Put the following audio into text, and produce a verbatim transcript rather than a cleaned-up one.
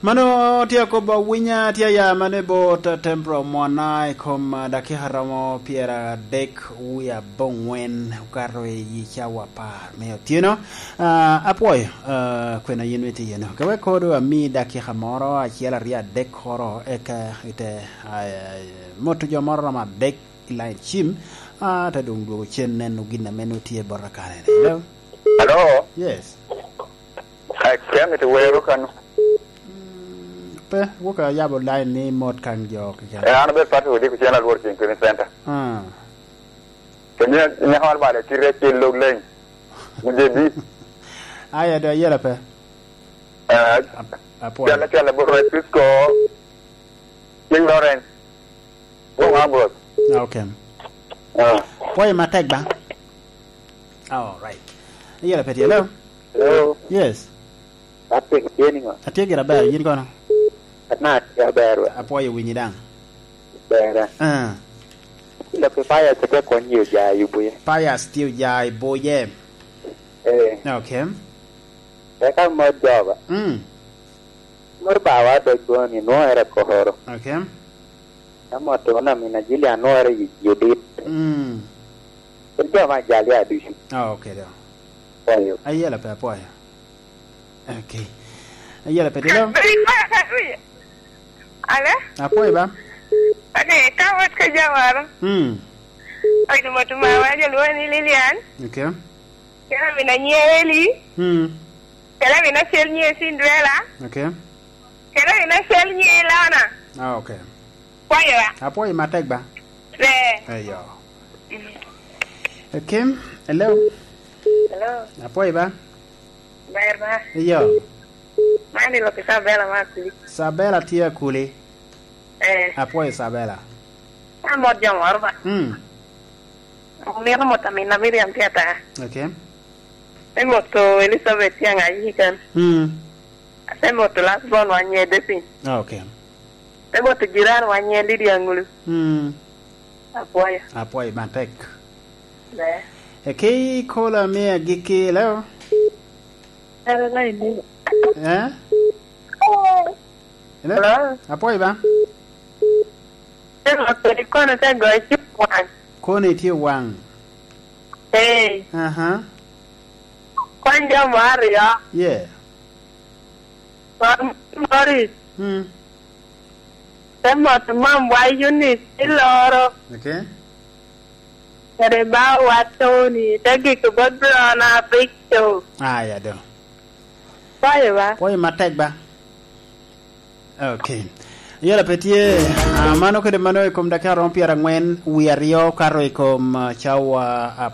Mano tye akobo awinya, tye aya mano i bot Tempro Mwana i kom, ah, dakika romo pyeradek wie aboŋwen okato i cawa apar me otyeno. Ah, apwoyo, ah, kwena yin itye iyeno. Ka wek kodo ami dakika moro, acel, aryo, adek koro, eka ite, ah, moto jo moro romo adek i line cim, ah, te doŋ dwogo cen neno gin ame nwoŋo tye bot akane. Hello? Hello? Yes. Ai, kemi ti wero kano. Mm, pe, wuka yabo line ni mot kan jo keken. Eh, an abed Patrick Odiko, cen alwor ceng Clean Center. Ah. Kemi nyaka wan bale kite acel log line. Muje bi. Aya, do ayela pe. Eh, ap-, apwoyo. Cwale, cwale, bot Francisco. King Lawrence. Wong Ambrose. Ah, okay. Ah. Pwoyo matek ba? All right. Ayela pe tye, hello? Hello. Yes. Patrick, tye niŋo? Atye gira ber, yin kono? Ana atye aber, we. Apwoyo winyi daŋ. Bera. Ah. Lok i Pius tye kwon i Ojai i Buye. Pius tye Ojai i Buye. Eh. Okay. Eka mot joba. Mm. Mot bawa dog koni, nwoŋo era koro. Okay. Ka mot won amina Julia, nwoŋo era i Judith. Mm. Kit jo me Ajalia ducu. Ah, okay, do. Apwoyo. Ayela pe, apwoyo. Okay. Ayela pe, hello? Ale? Apwoyo ba? Ane, ka wot ka jawara. Hmm. Oyo mot mawa, jo lwongo ni Lilian. Okay. Kela mina nye Eli. Hmm. Kela mina cel nye Cinderella. Okay. Kela mina cel nye Lana. Ah, okay. Apwoyo ba? Apwoyo matek ba? Eh. Eyo. Mm. Kim, hello. Hello. Apwoyo ba? Ber ba? Eyo. Man i lok Isabela ma Akuli. Isabela tye Akuli. Eh. Apwoyo Isabela. Amot jo moro ba? Mm. Omito mot amina Miriam tye ata. Okay. Me moto Elizabeth tye aŋayi kan. Mm. Ate moto last born wa nye Depin. Ah, okay. Ate moto jiran wa nye Lydia Ngulu. Mm. Apwoyo. Apwoyo matek. Ne. Eki kola me agikki, hello? Hello, line ni. Eh? Hello? Hello? Apwoyo ba? Ate moto ikono te goyo cim waŋ. Kono itye waŋ. Ee. Aha. Kony jo mo aryo. Yeah. Kony Morris. Mm. Te moto mamwa Eunice i Loro. Okay. Kede bawa Tony, te giko bot Brona Victor. Aya do. Pwoyo ba? Pwoyo matek ba? Okay. Yela pe tye, ah, mano kede mano i kom dakika romo pyeraŋwen wie aryo kato i kom, ah, cawa